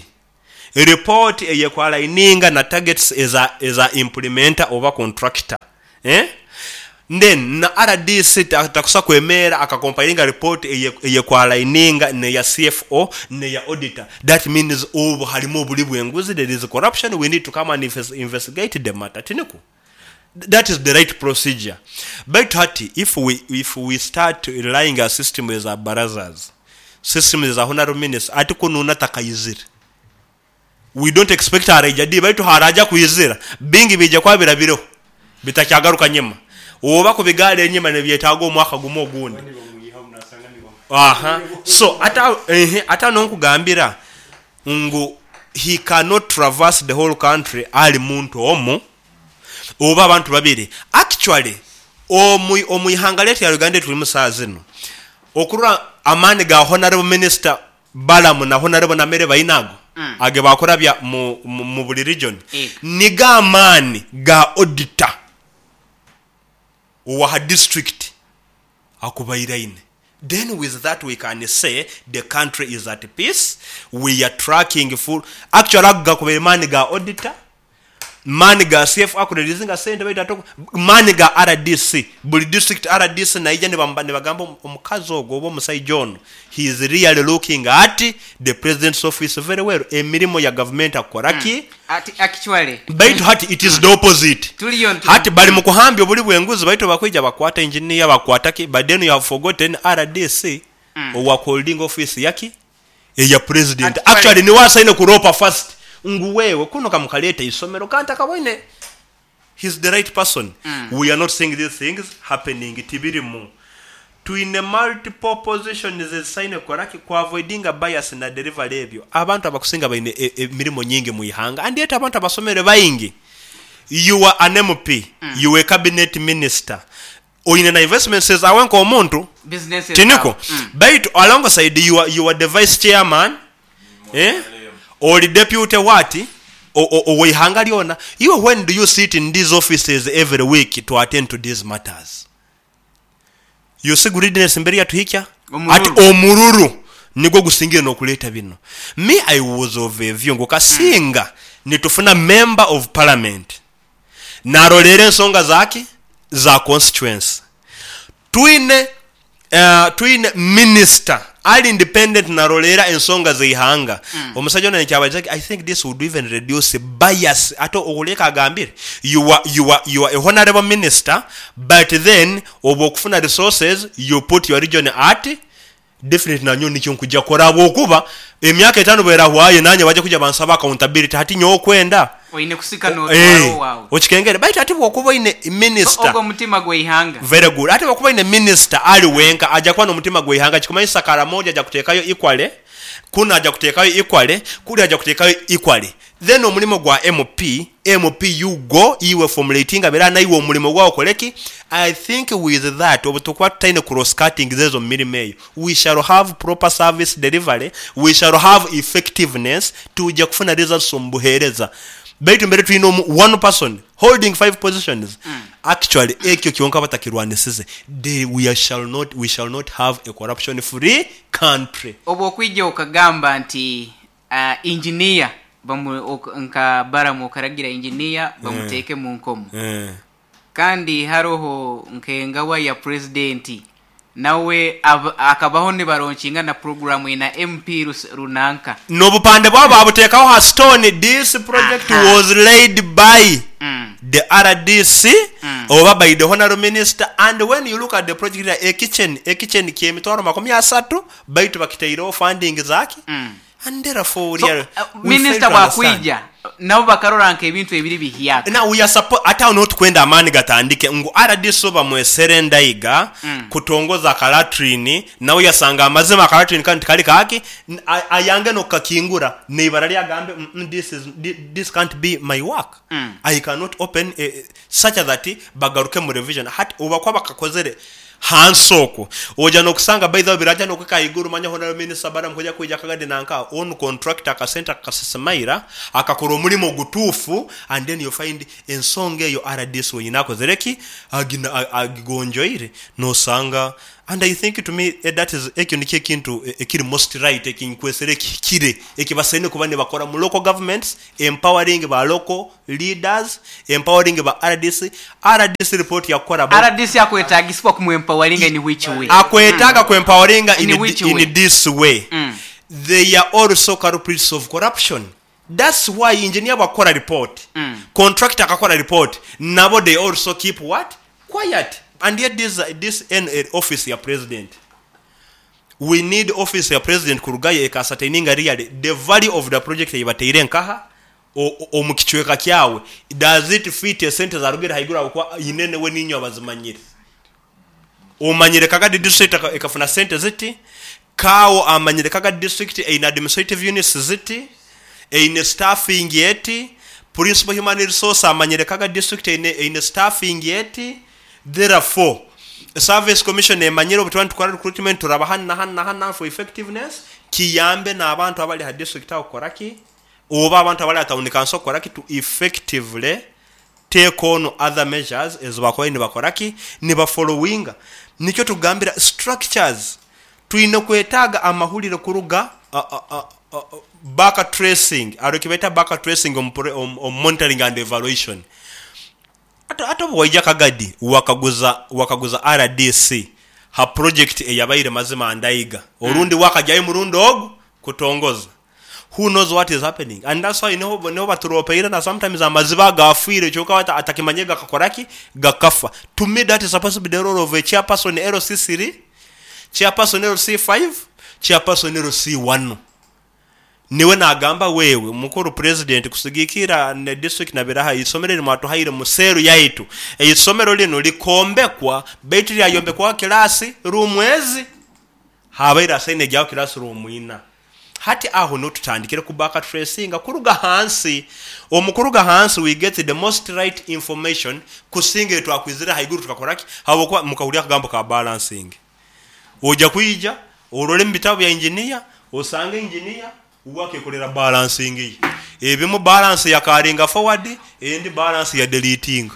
report eyekwalaininga na targets eza eza implementer oba contractor, eh then na rdc takusa kwemeera akakompilinga report eyekwalaininga neya CFO neya auditor, that means obwo harimu oburi bw'enguzi, there is corruption, we need to come and investigate the matter. Tinikwo? That is the right procedure. Baitu hati if we start relying a system eza barazas, system eza honorable minister, ati kununa takayizire, we don't expect araija di, baitu haraja kwizira bingi bija kuba birabireho bitakyagaruka nyima, oba kubigala enyima nibyetaaga omwaka gumu ogundi. Aha, so ata ata nonkugambira ngu he cannot traverse the whole country ali muntu omu oba abantu babiri. Actually, omu ihanga lyetu ya Uganda tulimu saa zino, okurora amaani ga honorable minister Balamu na honorable Namere bainago age bakurabya mu buli region, niga amaani ga auditor owaha district akubairaine. Then with that we can say the country is at peace, we are tracking full. Actually, ago gakubaire maani ga auditor, maani ga CF akureleasinga sente, baitu ate maani ga RDC, buli district RDC naija nibagamba omukazi ogwo oba omusaija ono, he is really looking at the president's office very well, emirimu ya government akoraki. Ati actually Baitu hati it is the opposite. Tuliyo Hati bali mu kuhambya obuli bw'enguzi, baitu bakwija bakwata engineer, bakwata ki, but then you have forgotten RDC owa holding office yaki eya president. Actually niwe asaine kuropa first ngu wewe kuno kamukaleta isomero kandi akabone he's the right person. We are not seeing these things happening, tibirimu. Twine multiple positions ezisaine koraki kuavoidinga bias na delivery ebyo. Abantu abakusinga baine emirimu nyingi mu ihanga, and yet abantu abasomere baingi. You are an MP, you are a cabinet minister, oine na investments zawe nk'omuntu. Businesses. Tiniko? Zawe. Baitu alongside you are the vice chairman, eh? Oli deputy what oweihanga lyona. You, when do you sit in these offices every week to attend to these matters? You see greediness mbere yatuhikya. Omururu. Ati omururu nigwo gusingire nokuleeta bino. Me, I was of a view ngu kasinga nitufuna member of parliament narolera ensonga zaki za constituency, twine minister ali independent narolera ensonga zeihanga. Omusajja ono nekyabaza, I think this would even reduce bias. Ate okuleka agambire you are a honorable minister, but then oba okufuna resources you put your region at definitely. Nanyo nikyo nkujja kora bwokuba emyaka 5 bwerahwayo nanye bajja kujja bansaba accountability, hati nyowe okwenda Oine kusika n'otwaro waawe. Okikengere, baitu ate bwokuba oine minister Ogwo omutima gw'eihanga. Very good. Ate bwokuba oine minister ali wenka, ajja kuba n'omutima gw'eihanga kikumanyisa Karamoja ajja kuteekayo equally, kuno ajja kuteekayo equally, kuli ajja kuteekayo equally. Then omulimu gwa MP, you go iwe formulating bera naiwe omulimu gwawo okoleki. I think with that, obu tukuba tutaine cross cutting zezo mu mirimu eyo, we shall have proper service delivery, we shall have effectiveness, tujja kufuna results omu buheereza. Baitu mbere tulina one person holding five positions. Actually, ekyo kyonka batakirwanisize, we shall not have a corruption free country. Oba okwija okagamba nti engineer nka Baramu okaragira engineer bamuteeke mu nkomo, kandi haroho nkengawa ya presidenti nawe akabaho nibaronkinga na program ina MP runanka. N'obupande bwabo babuteekaho ha stone, this project was laid by the RDC oba by the honorable minister. And when you look at the project, a kitchen kyemitwaro 30, baitu bakitaireho funding zaki. And therefore So, we fail minisita to understand. bwakwija nabo bakarora nka ebintu ebiri bihyaka. Now we are ate awo notukwenda amaani gatandike ngu RDC bamwesere ndaiga kutongoza akalatrini, nawe yasanga amazima akalatrini kandi tikali kaki, ayange nokukakingura neibara lyagambe, this can't be my work. I cannot open such that bagaruke mu revision. Hati obakuba bakakozere. Hansi okwo oja nokusanga by the way biraja nokuhika ahaiguru manya honourable minister Balaam kuja kwija akagadi nanka onu contractor akasente akakasisimaira akakora omurimo ogutuufu and then you find ensonga eyo rdc wenyini akozire ki? Agigonjoire nosanga and I think to me that is ekyo nikyo ekintu ekiri most right ekinkwesere ekihikire ekibasaine kuba nibakora mu local governments empowering ba local leaders empowering ba rdc, rdc report yakukora about. Rdc akwetagisibwa ku empoweringa in which way? Akwetaaga ku empoweringa In which way? in this way, they are also culprits of corruption that's why engineer bwakukora report, contractor akakora report nabo they also keep what? Quiet and yet this this eno eri office ya president. We need office ya president kurugayo eka ascertaininga really the value of the project eyibateire nkaha omu kicweka kyawe, does it fit esente zarugire haiguru ahabwokuba inene we niinywe abazimanyire. Omanyire Kagadi district ekafuna sente ziti, Kaawo amanyire Kagadi district eine administrative units ziti, eine staffing eti, Principal Human Resource amanyire Kagadi district eine staffing eti, Therefore, Service Commission emanyire obu tuba nitukora recruitment turaba hanu na hanu na hanu na hanu for effectiveness, kiyambe n'abantu abali ha district aho kukora ki? Oba abantu abali aha town council kukora ki? To effectively take on other measures ezi bakubaire nibakora ki? Niba followinga. Nikyo tukugambira structures twine kwetaaga amahurire kuruga back tracing, hariho ekibeeta back tracing omu monitoring and evaluation. Hati obu waija Kagadi wakaguza wakaguza rdc ha project eyabaire mazima ndaiga orundi wakagyayo murundi ogu kutongoza who knows what is happening and that's why niho niho baturopeire na sometimes amaziba agafiire kyonka we atakimanyire gakakora ki? Gakafa. To me that is supposed to be the role of a chairperson LC3, chairperson LC5, chairperson LC1. Niwe nagamba wewe mukuru president kusigikira ne district na biraha eisomero eri mwatuhaire mu cell yaitu eisomero linu likombekwa baitu lyayombekwaho class room ezi habaire hasaine gyaho class room ina hati aho niho tutandikire ku back tracinga kuruga hansi omu kuruga hansi we get the most right information kusinga eitwakwizire haiguru tukakora ki habwokuba mukahurira akagambo ka balancing Oja kwija orole omu bitabo bya engineer osange engineer uwe akekorera balancing ye. Ebimu balance ya carryinga forward endi balance ya deletinga.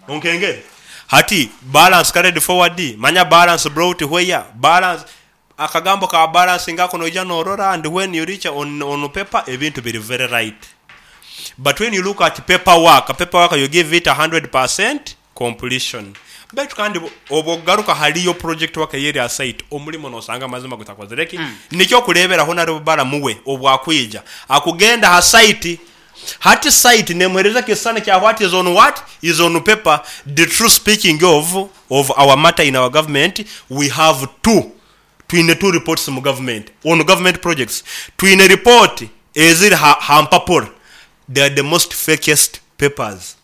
Onkengere? Hati balance carried forward manya balance brought where? Balance akagambo ka balancing ako noija norora and when you reach on paper ebintu biri very right. But when you look at paper work, paper work you give it 100% completion. Baitu kandi obu okugaruka hariyo project work eyeri aha site, omurimo nosanga amazima gutakozire ki? Nikyo okureberaho nari Balamu we obu akwija akugenda aha site, hati site nemuhereza ekisisani kya what is on what is on paper, the true speaking of of our matter in our government, we have two, twine two reports mu government, on government projects, twine report eziri ha mpapura, they are the most fakest papers.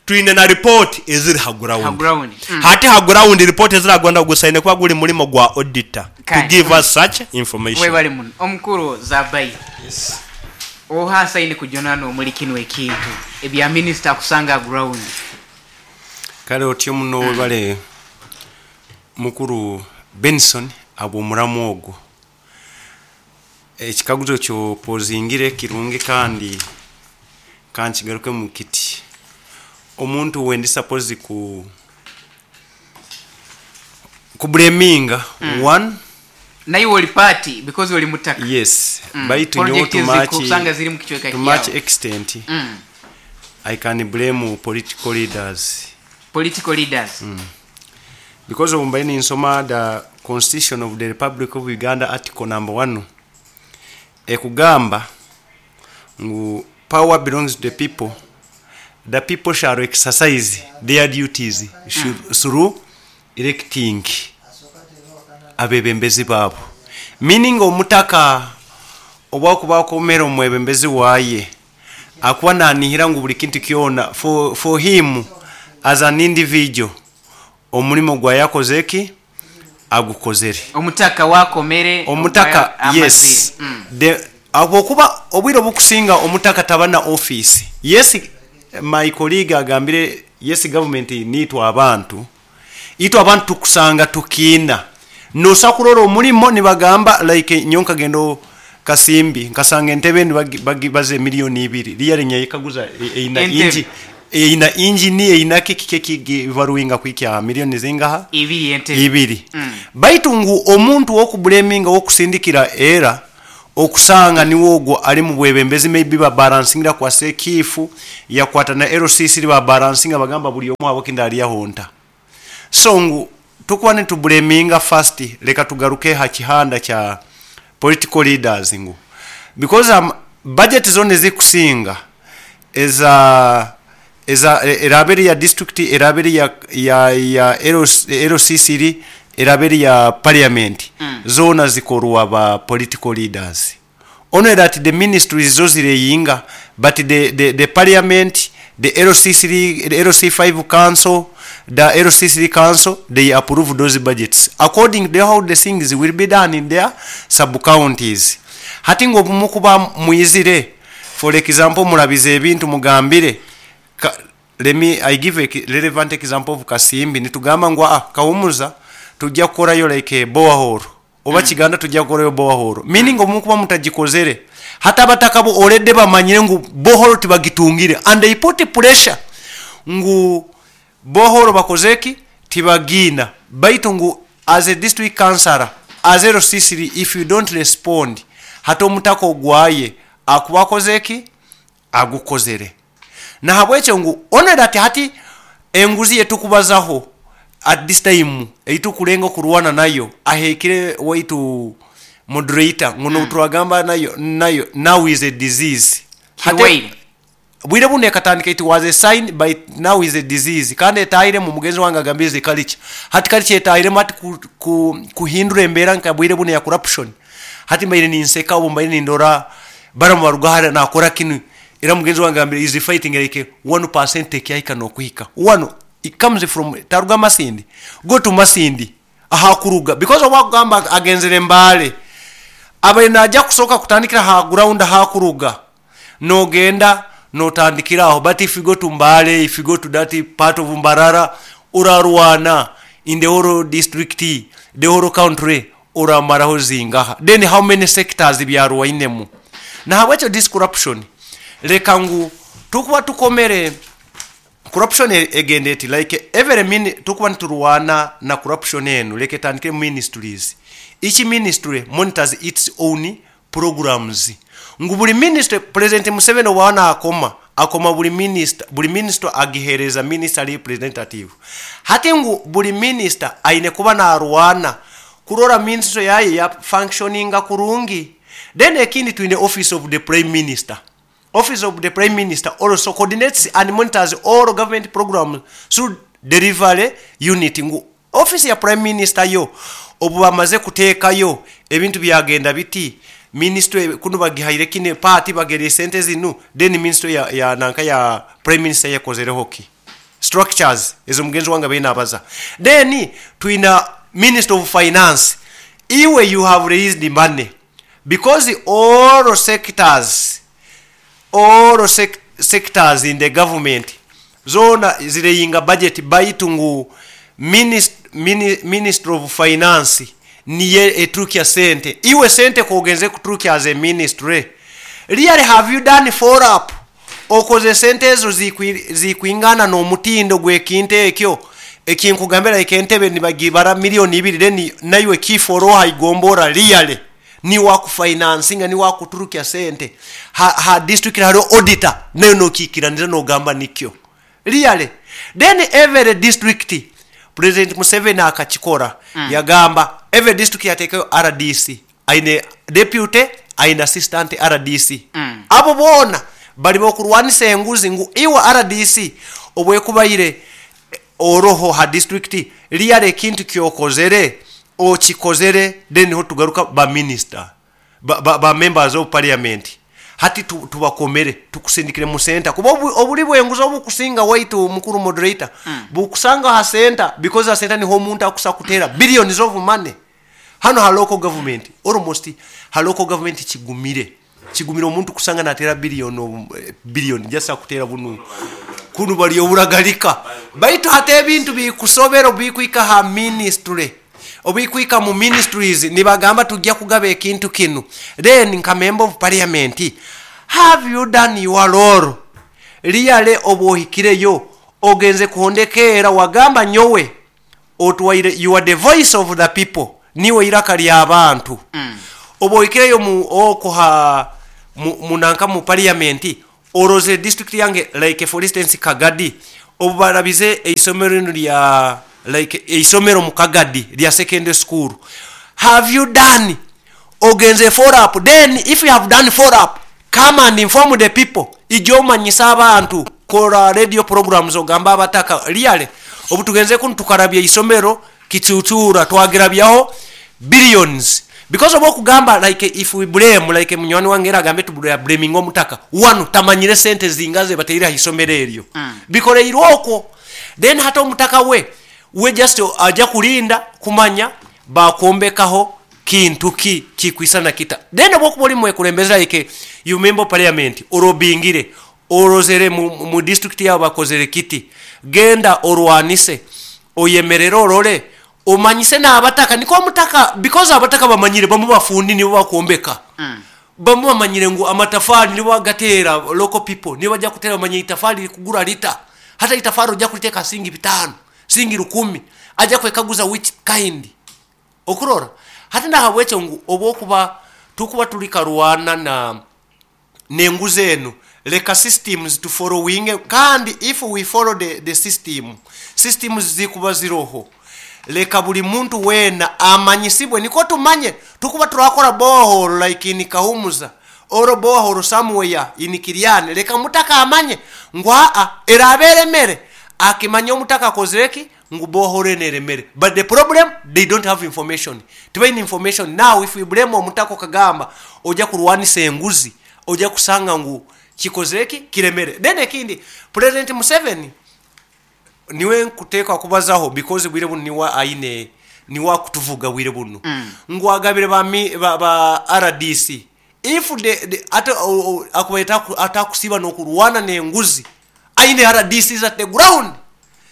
Twine na report eziri ha Ha ground. ground. Hati ha ground report eziri ha ground gusaine kuba guri murimo gwa auditor to Kale. give us such information. Webale muno omukuru Zabai. Oha asaine kujunanwa omuri kinu ekintu ebya minisita kusanga ha ground? Kale otyo muno webale mukuru Benson habw'omuramu ogwo. Ekikaguzo ky'opozingire kirungi kandi kankigarukemu kiti, omuntu wendi suppose ku kubleminga one, Naiwe oli party because oli mutaka. Yes, baitu nyowe Project to ezi much, kusanga ziri mu kicweka to much kyawe. extent I can blame political leaders. Political leaders. Because obu mbaire ninsoma the Constitution of the Republic of Uganda article number 1 ekugamba ngu power belongs to the people, the people shall exercise their duties through electing abebembezi baabo. Meaning omutaka obu akuba akomere omwebembezi waye akuba nanihira ngu buri kintu kyona for him as an individual omurimo gwa yakoze ki agukozere. Omutaka wakomere Omutaka, amazire. Yes. The habwokuba obwire obukusinga omutaka taba na office. Yes, my colleague agambire yes government nitwe abantu. Itwe abantu tukusanga tukiina. Nosa kurora omulimo nibagamba like nyowe nkagenda Kasimbi nkasanga entebe baze 2 million. Really nyayekaguza eina Entebe. inji eina injini eina kiki kiki baruwinga kwikya miliyoni zingaha? 2 entebe. 2. Baitu ngu omuntu wokublaminga, wokusindikira era okusanga niwe ogwo ali mu bwebembezi, maybe babalansingira kwa sekifu yakwata na LCC babalansinga bagamba buli omu abo kinda aliyaho nta. So ngu tukuba nitublaminga first, leka tugaruke ha kihanda kya political leaders ngu because budget zone zikusinga eza eraberi ya district, eraberi ya LCC, eraberi ya parliament, zona zikorwa ba political leaders. Only that the ministries zo zireyinga, but the parliament, the LCC, the LC5 council, the LCC council, they approve those budgets according to how the things will be done in their sub counties. Hati ngo mukuba muizire, for example, murabize ebintu mugambire let me I give a relevant example of Kasimbi. Nitugamba ngo Kahumuza tujja kukorayo like a borehole oba Kiganda tujja kukorayo borehole, meaning omukuba mutagikozere hata abataka bo already bamanyire ngu borehole tibagitungire, and they put pressure ngu borehole bakozeki tibagina. Baitu ngu as a district councillor, as a LCC, if you don't respond, hata omutaka ogwaye akuba akozeki agukozere. Nahabwekyo ngu only that hati enguzi yetukubazaho at this time eitukulenga kurwana nayo ahekire waitu moderator nguno turagamba nayo now is a disease. Kiwaire. Bwire buno ekatandika, it was a sign, but now is a disease. Kandi etahire mu mugenzi wange agambize culture. Hati culture etahiremu hati kuhindura embeera nka bwire buno ya corruption. Hati mbaire ninseka obu mbaire nindora baramu baruga hara nakora kinu, era mugenzi wange agambire is fighting like 1% ekyahika nokuhika one. It comes from taruga Masindi, go to Masindi ahakuruga, because obwakugamba agenzere Mbale abaire najja kusooka kutandikira ha ground hakuruga nogenda notandikira aho. But if you go to Mbale, if you go to that part of Mbarara, urarwana in the whole district, the whole country, uramaraho zingaha? Then how many sectors byarwainemu? Nahabwekyo this corruption, leka ngu tukuba tukomere corruption egenda eti like every minute tukuba niturwana na corruption enu. Leka etandikire mu ministries. Each ministry monitors its own programs, ngu buli ministry, President Museveni obwana akoma akoma buli minister, buli minister agihereza minister representative. Hati ngu buli minister aine kuba narwana kurora ministry yaye ya functioninga kurungi. Then ekindi, twine office of the prime minister. Office of the prime minister also coordinates and monitors all government programs through delivery unit. Ngu office ya prime minister yo obu bamaze kuteekayo ebintu byagenda biti, ministry kuno bagihaire kine party bagere sente zinu, then ministry ya nanka ya prime minister yakozereho ki structures ezo mugenzi wange bena abaza. Then twina minister of finance. Iwe you have raised money because all sectors in the government zona zireyinga budget, baitu ngu minister of finance niye eturukya sente. Iwe sente kogenze kuturukya as a ministry, really have you done follow up? Okoze sente ezo zikwingana n'omutindo gw'ekintu ekyo ekinkugambira, like entebe nibagibara 2 million, then naiwe kiforo haigombora, really ni wakufinansinga, ni wakuturukya sente ha district hariho auditor nayo nokikiraniza nogamba nikyo really. Then every district, President Museveni akakikora, yagamba every district yateekayo RDC, aine deputy, aine assistant RDC. Abo boona bali bokurwanisa enguzi ngu iwe RDC obwekubaire oroho ha district, really ekintu kyokozere okikozere. Then niho tugaruka ba minister, ba members of parliament. Hati tubakomere tukusindikire mu center kuba obuli bwenguzi obukusinga waitu mukuru moderator bukusanga ha center, because ha center niho omuntu akusa kutera billions of money. Hano ha local government, almost ha local government kigumire omuntu kusanga natera billion, billion just akutera bunu kuno bali oburagalika. Baitu hati ebintu bikusobera obubikwika ha ministry, obubikwika mu ministries nibagamba tujja kugaba ekintu kinu, then nka member of parliament have you done your role really obu ohikireyo ogenze kuhondekeera wagamba nyowe otwaire, you are the voice of the people, niwe iraka ly'abantu. Obu ohikireyo mu oko ha munanka mu parliament orozere district yange, like for instance Kagadi, obu barabize eisomero linu lya like eisomero mu Kagadi lya secondary school, have you done, ogenze follow up? Then if you have done follow up, come and inform the people, ija omanyise abantu, kora radio programs ogamba abataka really obu tugenze kunu tukarabya isomero Kicucura twagirabyaho billions. Because oba okugamba like if we blame, like munywani wange era agambe tubula blaming omutaka wanu tamanyire sente zingaze bateire ha isomero eryo, bikoreirwe okwo. Then hata omutaka we just aja kulinda kumanya bakombekaho kintu ki kikwisana kita. Then oba okuba oli mwekulembeze, like you member parliament, orobingire orozere mu district yabo bakozere kiti, genda orwanise, oyemerere, orole, omanyise n'abataka, niko omutaka, because abataka bamanyire bamu bafundi nibo bakombeka, bamu bamanyire ngu amatafari nibo bagatera, local people nibo bajja kutera, bamanye itafari likugura lita, hata itafari ojja kuliteeka singi 5, singi 10, ajja kwekaguza which kind okurora. Hati nahabwekyo ngu obwokuba tukuba tuli karwana na nenguzi enu, leka systems to following, kandi if we follow the system, systems zikuba ziroho, leka buli muntu wena amanyisibwe, niko tumanye tukuba turakora borehole like in Kahumuza or borehole somewhere in Kiriani, leka mutaka amanye ngu aa erabe eremere, akimanye omutaka akozereki ngu borehole eno eremere. But the problem, they don't have information, tibaine information. Now if we blame omutaka okagamba ojja kurwanisa enguzi, ojja kusanga ngu kikozereki kiremere. Then ekindi, President Museveni niwe nkuteeka kubazaho because bwire buno niwe aine, niwe akutuvuga bwire buno, ngu agabire ba RDC, if the ate akubaita atakusiba n'okurwana n'enguzi, aine RDCs at the ground.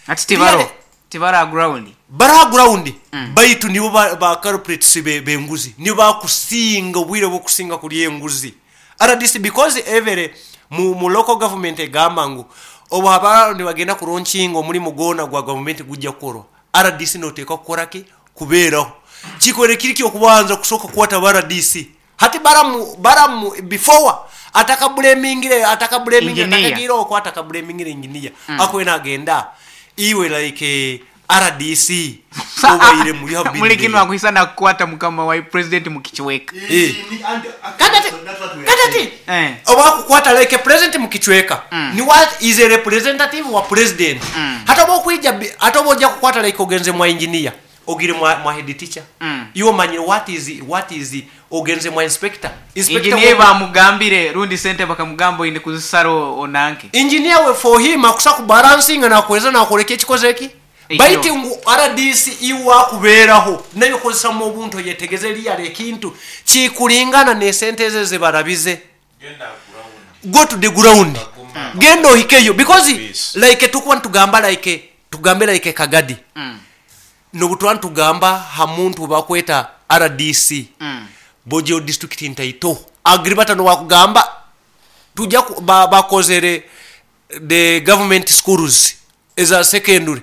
Ati tibaro tibara ground. Bara ground, baitu nibo ba culprits benguzi, nibo bakusinga obwire bwokusinga kulya enguzi RDC, because every mu local government egamba ngu obu haba nibagenda kulaunchinga omulimu gwona gwa government gujja kukorwa, RDC noteekwa kukora ki kubeeraho kikore kiri kyokubanza kusooka kukwata ba RDC. Hati baramu before atakablamingire atakablamingire Engineer. Atakagira okwo atakablamingire engineer, akwena agenda iwe like RDC obaire mu you have been Muli kino there. akuisana kukwata mukama wa president mukichweka. Kati oba kukwata like president mukichweka, ni what is a representative wa president. Hata oba okuija hata oba ojja kukwata like ogenze mwa engineer, ogire mwa head teacher, iwo manye what is ogenze mwa inspector, inspector Engineer bamugambire rundi sente bakamugamba ine kuzisaro onanke. Engineer we for him akusa ku balancing na kuweza na kuleke ekikoze ki. Ekyo. Baiti ngu RDC iwa kubeeraho nayo kozesa mu obuntu yetegeze lya ekintu kikulingana ne sente ze zebarabize. Go to the ground, genda ohikeyo, because Yes. like tukuwa ntugamba like tugambe like Kagadi, nobutwa ntugamba ha muntu bakweta RDC, Bojo district ntaito agribata no wakugamba tujja bakozere the government schools eza secondary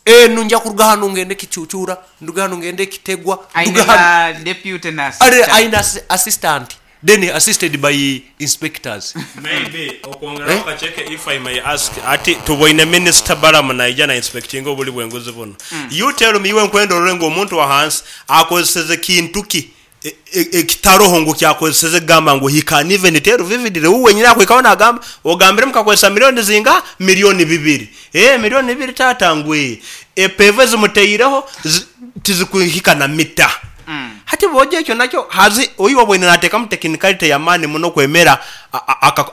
enu nja kuruga hano ngende Kicucura, nduga hano ngende Kitegwa, Aine nduga hano. na deputy na Are assistant. aina assistant, then assisted by inspectors. Maybe okwongeraho kacheke, if I may ask, ati tuboine minister Balamu naija na inspecting obuli bwenguzi buno. You tell me, iwe nkwenda olole ng'omuntu wa hansi akozeseze kintu ki ekitaroho ngu kyakozeseze gamba ngu he can even tell vividly uwe wenyini akwikaho nagamba ogambire mukakozesa milioni zinga 2 milioni, 2 milioni tata ngwe epeve zimuteireho tizikuhika na mita. Hati boja ekyo nakyo hazi oyu wabwene nateekamu technicality yamaani muno kwemera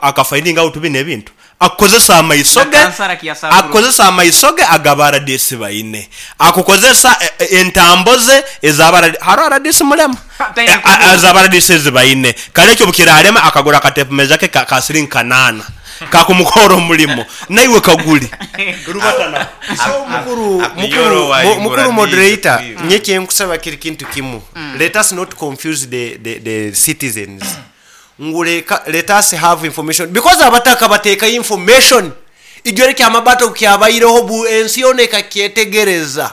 akafinding out bino ebintu akozesa amaiso Na ge. kansara kiyasaburo. Akozesa amaiso ge agaba RDC baine akukozesa entambo ze ezaba haro RDC mulema. Taina kugura. Ezaba RDC zibaine kale ekyo bukiralema akagura akatepu meza ke ka siringi 8. Kakumukora omulimo naiwe kaguli. Rubatana. So mukuru Akuyoro mukuru wa mukuru ingura moderator, ndizo. nye kyenkusaba kiri kintu kimu. Let us not confuse the citizens. Nguleka let us have information because abataka bateka information. Ijore kya mabato kyabaireho bu ensi yona ekakyetegereza.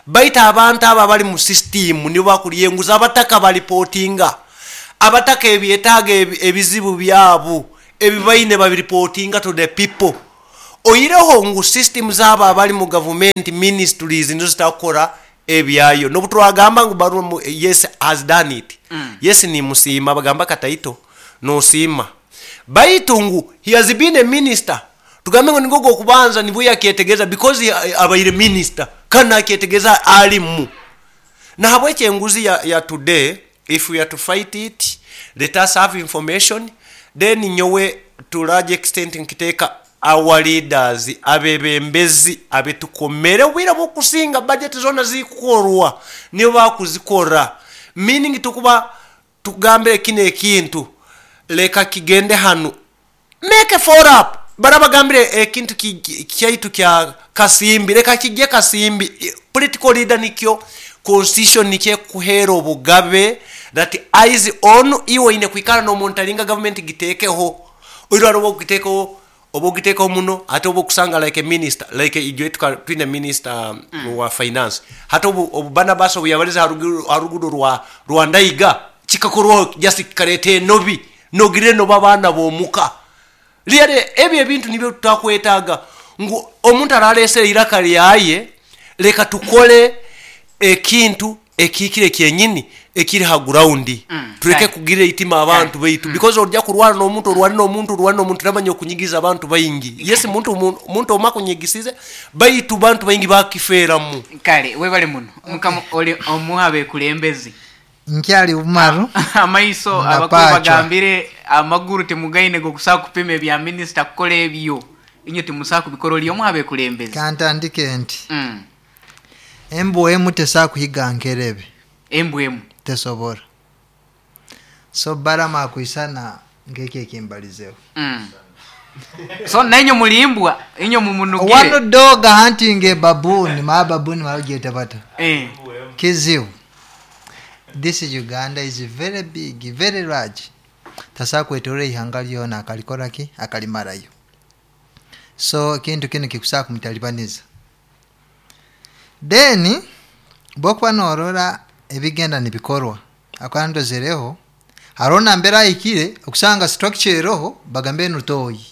Baita abantu aba bali mu system nibo bakulyenguza abataka balipotinga. Abataka ebyetaaga ebizibu byabo ebibaine babiripotinga to the people. Oyireho ngu system zabo abali mu government ministries nizo zitakora ebyayo. Nobutwagamba ngu baru mu, yes has done it. Yes ni musiima bagamba kataito no sima. Baitu ngu he has been a minister. Tugambe ngu nigo okubanza nibwo yakyetegeza because abaire minister kana akyetegeza alimu. Nahabwekyo enguzi ya today, if we are to fight it, let us have information. Then nyowe to large extent nkiteeka our leaders abebembezi abetukomere obwire bwokusinga budget zona zikukorwa nibo bakuzikora, meaning tukuba tugambire kino ekintu leka kigende hanu, make a follow up. Barabagambire ekintu kyaitu kya Kasimbi, leka kijye Kasimbi. Political leader nikyo constitution nikye kuhera obugabe that eyes on iwe ine kwikara n'omuntu alinga government gitekeho oirwara oba ogitekeho oba ogitekeho muno ate oba okusanga like a minister like ijwe twine minister wa finance hata obu Barnabas obu yabaliza harugudo rwa Ndaiga kikakorwaho just kikareta enobi nogire noba abaana bomuka lyere ebyo ebintu nibyo tutakwetaaga ngu omuntu aralesera iraka lyaye leka tukole ekintu ekikire kyenyini ekiri ha ground. Tureke kugira itima abantu baitu because ojja kurwana n'omuntu orwane n'omuntu orwane n'omuntu namanya okunyigiza abantu baingi. Yes, muntu omwe akunyigisize baitu bantu baingi bakifeeramu. Kale webale muno mukama oli omuha bekulembezi nkyali bumaru amaiso na abakuru pachwa. Bagambire amaguru temugaine gokusaa kupima ebya minisita kukola ebyo inyo timusaa kubikora oli omuha bekulembezi. Kantandike nti embwa emu tesaa kuhiga nkerebe. Embwa emu tesobora. So Barama akwisana ngeki ekimbalizeho. So nainyo mulimbwa inyo mumunugire. One dog hunting a baboon, ma baboon marugeta bata. Kizibu. This is Uganda is very big, very large. Tasa kwetore ihanga lyona akalikora ki akalimarayo. So kintu kino kikusaa kumutalibaniza. Then bwokuba norora ebigenda nibikorwa akwandozereho harona mbera ayikire okusanga structure eroho bagambe nutoyi.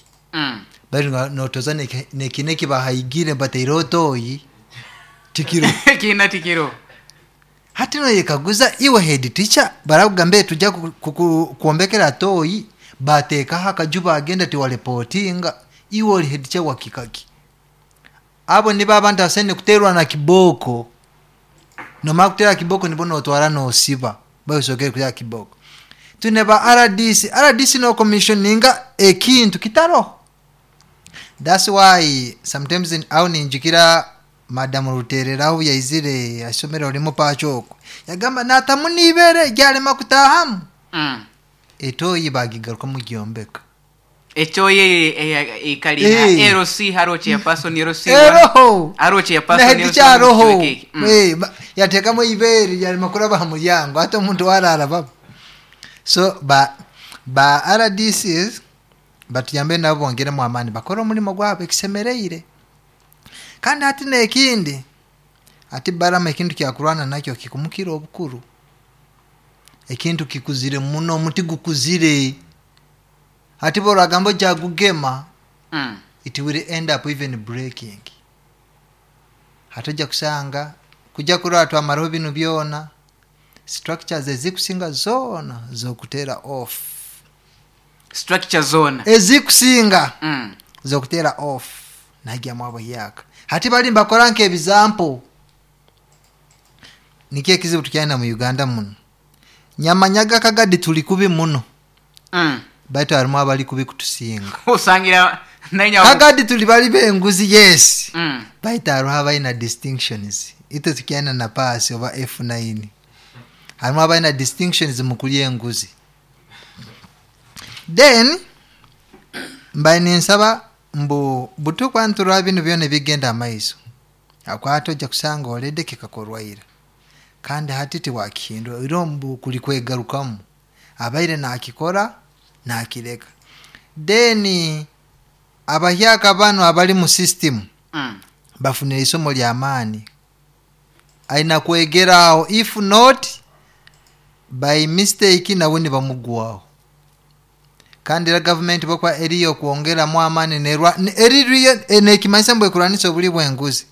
Bari notoza nekineki bahayigire bataireho toyi tikiro. Kina tikiro. Hati noyekaguza iwe head teacher barakugambe tujja kuombekera toyi batekaho akaju bagenda tiwarepotinga iwe ori head teacher wakikaki. Abo nibo abantu asene kuterwa na kiboko. Nomara kutera kiboko nibo notwara nosiba bayosokere kutera kiboko. Tune ba RDC, RDC no commissioninga ekintu kitaro. That's why sometimes in au ninjukira Madam Ruterera aho yaizire asomero olimu pachoko. Yagamba natamunibere gyalema kutahamu. Etoyi bagigaruka mu gyombeka. Echoye ikali LC haro chairperson LC Eroho. Haro chairperson Na LC hedicharoho. Kiwekeki. Yatekamo ibere yalema kuraba mu muryango hata omuntu warara baba. So ba RDCs batuyambe nabo bongeremu amani bakora omulimo gwabo ekisemereire. Kandi hati nekindi ati Barama ekintu kyakurwana nakyo kikumukira obukuru. Ekintu kikuzire muno omuti gukuzire. Ati bora jagugema it will end up even breaking. Hatuja kusanga kuja kurora twamaraho binu byona structures ezikusinga zona zokutera off. Structure zona ezikusinga zokutera off najya mwabo yaka. Hati bali mbakora nke example. Niki ekizibu tukyana mu Uganda muno. Nyamanyaga kagadi tuli kubi muno. Baitu harimu abali kubi kutusinga. Usangira nanya kagadi tuli bali benguzi yes. Baitu hariho abalina distinctions. Ito tukyana na pass oba F9. Harimu abalina distinctions mu kulya enguzi. Then Mbaye ninsaba mbu butukwa nturora binu byona ebigenda amaiso, akwata ojja kusanga already kikakorwaira, kandi hati tiwakihindura, iro mbu kuli kwegarukamu, abaire nakikora nakireka. Then abahyaka banu abali mu system bafunire isomo ly'amaani, aina kwegeraho, if not by mistake nawe nibamugwaho. Kandi era gavumenti bwekuba eriyo kwongeramu amaani nerwa eririyo nekimanyisa mbu ekurwanisa obuli bw'enguzi.